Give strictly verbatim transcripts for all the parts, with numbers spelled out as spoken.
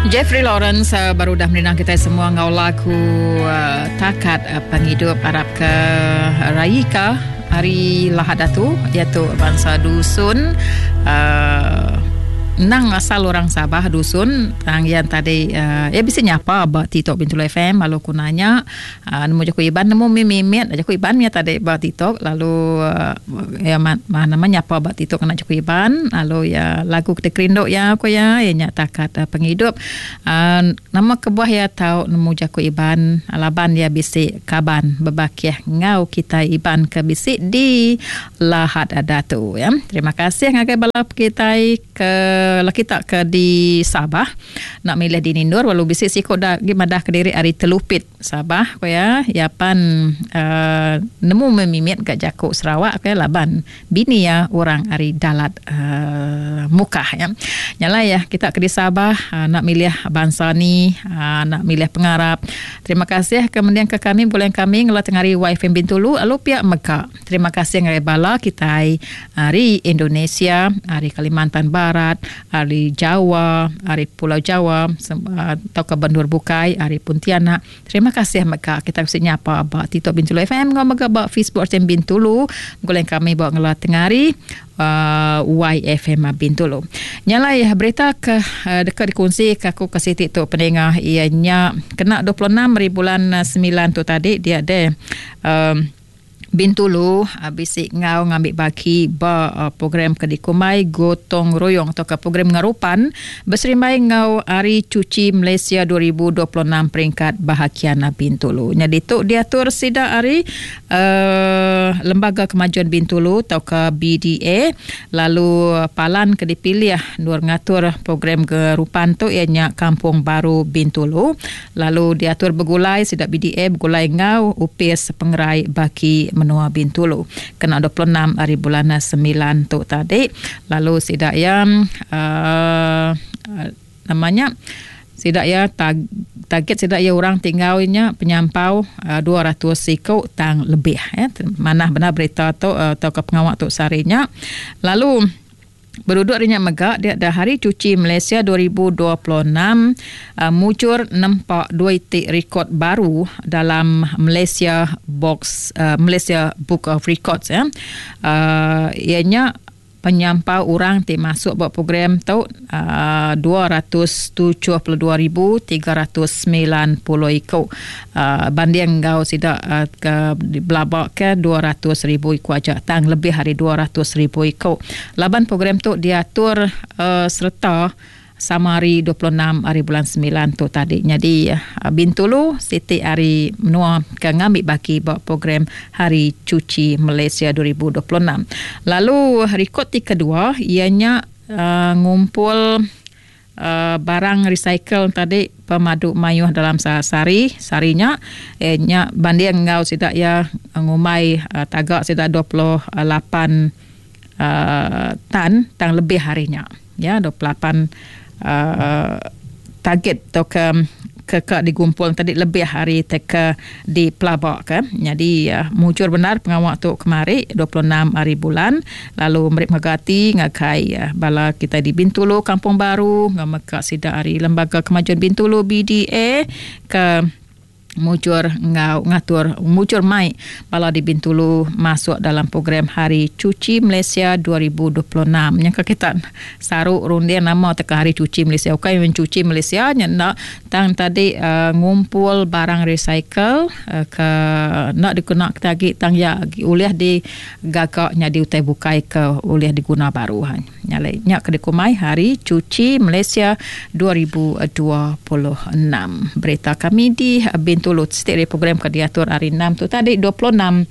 Jeffrey Lawrence uh, baru dah merindang kita semua ngau lagu uh, Takat uh, Penghidup arap ke Raika hari Lahad Datu iaitu bangsa Dusun uh, nang asal orang Sabah Dusun tang yang tadi uh, ya bisa nyapa ba TikTok Bintulu F M lalu ku nanya uh, nemu jaku Iban nemu mimit jaku Iban ya tadi ba TikTok lalu uh, ya ma, ma, nama nyapa ba TikTok kena jaku Iban lalu ya lagu kita kerindu ya aku ya ya nya takat uh, penghidup uh, nama kebuah ya tau nemu jaku Iban laban ya bisi kaban bebakiah ngau kita Iban ke bisi di Lahad Datu ya. Terima kasih ngagai bala kita ke lah kita ke di Sabah nak milih di Nindur walau bisi siko dah gi madah ke diri ari Telupit Sabah ko ya ya pan uh, nemu memimit gak jakuk Sarawak ke laban bini ya orang ari Dalat uh, Mukah ya. Nyala ya kita ke di Sabah uh, nak milih bangsa ni uh, nak milih pengarap. Terima kasih kemudian ke kami bulan kami ngelah tengari Y F M Bintulu lalu pihak Mekah. Terima kasih ngagai bala kita ari Indonesia, ari Kalimantan Barat, ari Jawa, ari Pulau Jawa, atau ke Bandur Bukai, ari Pontianak. Terima kasih mega kita mesti nyapa ba TikTok Bintulu F M ngau mega ba Facebook R T M Bintulu. Goleng kami bawa ngelah tengari uh, Y F M Bintulu. Nyala ya berita ke uh, dekat dikongsi ke aku ke siti tu pendengar ianya kena dua puluh enam hari bulan sembilan tu tadi dia ada um, Bintulu bisik ngau ngambil bagi ba uh, program ke dikumai gotong royong atau ke program ngarupan berserimbai ngau Hari Cuci Malaysia dua ribu dua puluh enam peringkat bahagian Bintulu. Jadi tu diatur sida hari uh, Lembaga Kemajuan Bintulu atau ke B D A lalu palan ke dipilih nur ngatur program gerupan tu ianya Kampung Baru Bintulu lalu diatur bergulai sida B D A bergulai ngau upis pengerai bagi menua Bintulu kena dua puluh enam hari bulan sembilan tu tadi lalu sidak yang uh, namanya sidak ya tag, target sidak ya orang tinggalnya penyampau uh, dua ratus siko tang lebih ya mana benar berita tu uh, atau ke pengawak tu sarinya lalu berduduk rinya megak dia ada Hari Cuci Malaysia dua ribu dua puluh enam uh, muncul nampak dua itik rekod baru dalam Malaysia Box uh, Malaysia Book of Records ya. Uh, ianya penyampau orang ti masuk buat program tu uh, dua ratus tujuh puluh dua ribu tiga ratus sembilan puluh ikut uh, banding ngau sidak uh, ke belabak ke dua ratus ribu ikut aja tang lebih hari dua ratus ribu ikut laban program tu diatur uh, serta sama hari dua puluh enam hari bulan sembilan tu tadi. Jadi Bintulu siti hari menua ke ngambil bagi buat program Hari Cuci Malaysia dua ribu dua puluh enam. Lalu rekod ti kedua ianya uh, ngumpul uh, barang recycle tadi pemadu mayuh dalam sehari sarinya eh nya banding ngau sidak ya ngumai uh, tagak sidak dua puluh lapan uh, tan tang lebih harinya ya dua puluh lapan Uh, target atau ke ke, ke digumpul tadi lebih hari teka di pelabak ke. Jadi uh, mujur benar pengawak tu kemari dua puluh enam hari bulan lalu mereka megati ngakai uh, bala kita di Bintulu Kampung Baru ngameka sida hari Lembaga Kemajuan Bintulu B D A ke mujur ngau ngatur mujur mai bala di Bintulu masuk dalam program Hari Cuci Malaysia dua ribu dua puluh enam. Yang kita saru rundian nama teka Hari Cuci Malaysia. Okey mencuci Malaysia nya nak tang tadi uh, ngumpul barang recycle uh, ke nak diguna kita agi tang ya ulih di gagaknya di utai bukai ke ulih diguna baru ha. Nyale nya ke dikumai Hari Cuci Malaysia dua ribu dua puluh enam. Berita kami di Bintulu setiap program ke diatur hari enam tu tadi dua puluh enam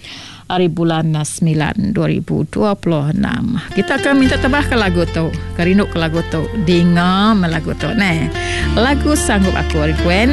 hari bulan sembilan dua ribu dua puluh enam. Kita akan minta tebah ke lagu tu, kerindu ke lagu tu, dinga melagu tu. Nah, lagu Sanggup Aku Gwen.